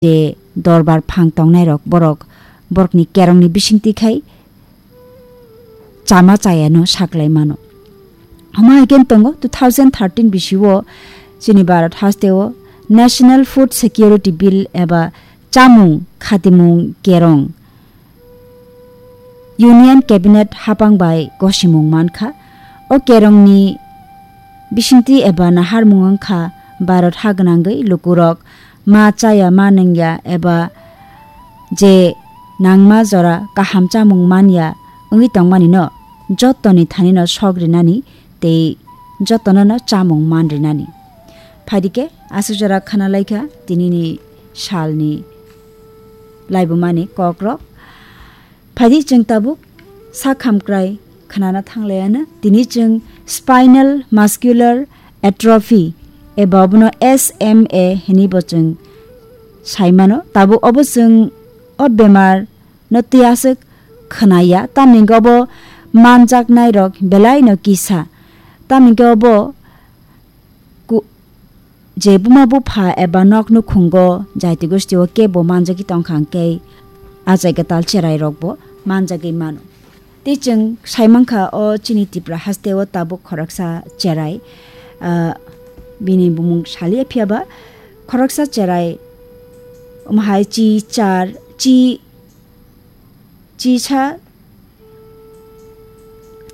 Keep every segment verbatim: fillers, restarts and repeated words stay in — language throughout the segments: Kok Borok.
je dorbar phang tongnai rok borok, borokni kerongni bisingtwi khai chama chayano saklai mano. Omo hai khe tongo two thousand thirteen bisio chini Bharat hasteo National Food Security Bill eba chamung khatimung kerong Union Cabinet hapang bai gosimung mankha. O kerongni bisingtwi eba naharmung wngkha Bharat ha gwnangwi lukurok ma chaya ma nungya eba je nangma jora kaham chamung manya wngwi tongmani no jottoni thani no sok rinani tei jotono no chamung man rinani. Phaidi khe aswk jora khana laikha tinini salni laibumani kokrok. Phaidi chwng tabuk sak hamkrai khnana thanglaiano. Tini chwng spinal muscular atrophy eba obono S M A hinwi bo chwng saimano. Tabuk obo chwng o bemar no twi aswk khnaya, tamni hwnkhe obo manjaknai rok belai no kisa, tamni hwnkhe obo ku-, je buma bupha eba nok nukhungo jaiti gostio kebo manjagwi tongkha hwnkhe achai kwtal cherai rokbo manjagwi mano. Tei chwng saimankha o chini Tripura hasteo tabuk khoroksa cherai, ah, bini bumung salia phiyaba khoroksa cherai, omo hai chi char, chi, chisa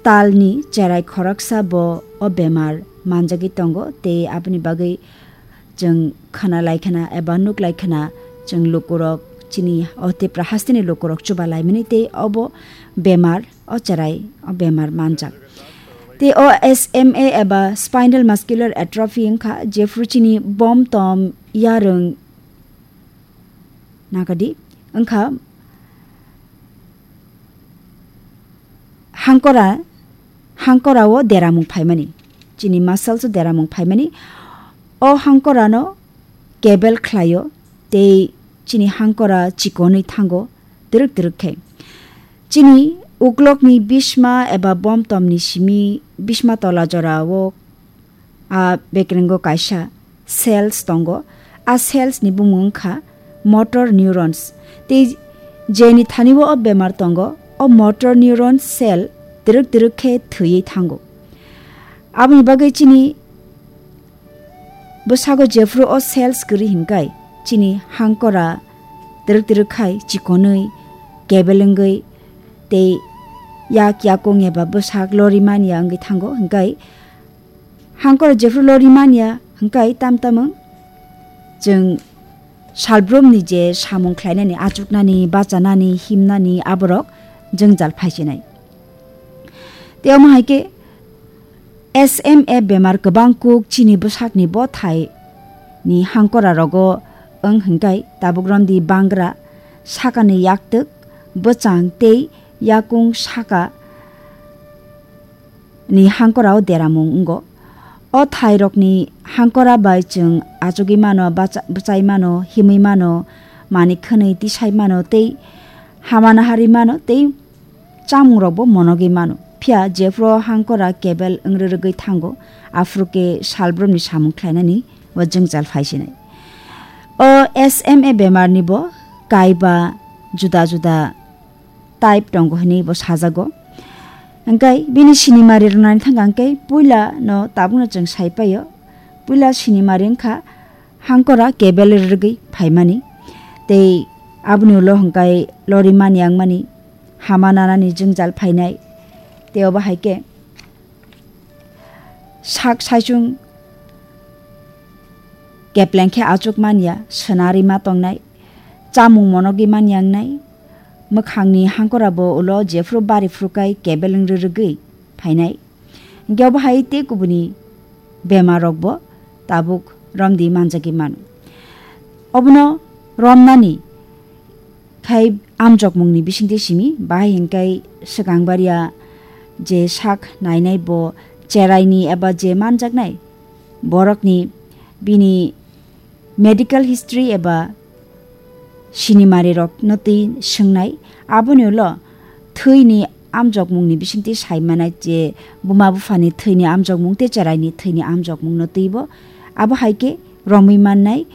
talni cherai khoroksa bo o bemar manjagwi tongo, tei aboni bagwi chwng khna lai khna eba nuk lai khna chwng lukurok chini o Tripura hasteni lukurok chuba laimani tei obo bemar o cherai o bemar manjak. Tei o S M A eba spinal muscular atrophy wngkha jephru chini bom tom yarwng nagadi wngkha hangkora, hangkora o deramung phaimani, chini muscles o deramung phaimani. O hangkora no kebel khlaio tei chini hangkora chikonwi thango twrwk twrwk khe. Chini uklokni bisma eba bom tomni simi bisma tola jorao a bekrengo kaisa cells tongo. A cells ni bumung wngkha motor neurons. Tei jeni thani o bemar tongo, o motor neuron cell twrwk twrwk khe thwiwi thango. Aboni bagwi chini bwsago jephru o cells kwrwi hinkai chini hangkora twrwk twrwk khai chikonwi kebel wngwi tei yak yakung eba bwsak lori manya wngwi thango hinkai hangkora jephru lori manya hinkai tam tamung chwng salbrumni je samung khlainani achuknani bachanani himnani aborok jwngjal phaisinai. Tei omo hai khe S M A bemar kwbang kuk chini bwsakni bothai ni hangkora rogo wng hinkai tabuk romdi bangra sakani yaktwk bwchang tei yakung saka ni hangkora o deramung wngo. O thai rokni hangkora bai chwng achugwi mano, bacha-, bwchai mano, himwi mano, mani khwnwi tisai mano tei hamana harwi mano tei chamung rokbo monogwi mano. Phiya jephru hangkora kebel wng rwrwgwi thango, aphuru khe salbrumni samung khlainani o jwngjal phaisinai. O S M A bemar ni bo kaiba juda juda type tongo hwnwi bo sajago. Hwnkhe bini sinimari rwnani thangkha hwnkhe puila no tabukno chwng sai paio. Puila sinimari wngkha hangkora kebel rwrwgwi phaimani. Tei aboni ulo hwnkhe lori mani wngmani, hama nanani jwngjal phainai. Tei obo hai khe sak saichung kepleng khe achuk manya, swnari ma tongnai, chamung monogwi manya wngnai, mwkhangni hangkora bo ulo jephru bari phrukai kebel wng rwrwgwi phainai. Hwnkhe obo hai tei kubuni bemar rokbo tabuk romdi manjagwi mano. Obono romnani khai amjokmungni bisingtwi simi, bahai hinkai swkang baria je sak nainai bo cheraini eba je manjaknai borokni bini medical history eba sinimari rokno twi swngnai. Aboni ulo thwini amjokmungni bisingtwi sai manai je buma buphani thwini amjokmung tei cheraini thwini amjokmungno twibo abo hai khe romwi mannai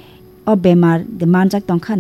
o bemar de manjak tongkha na.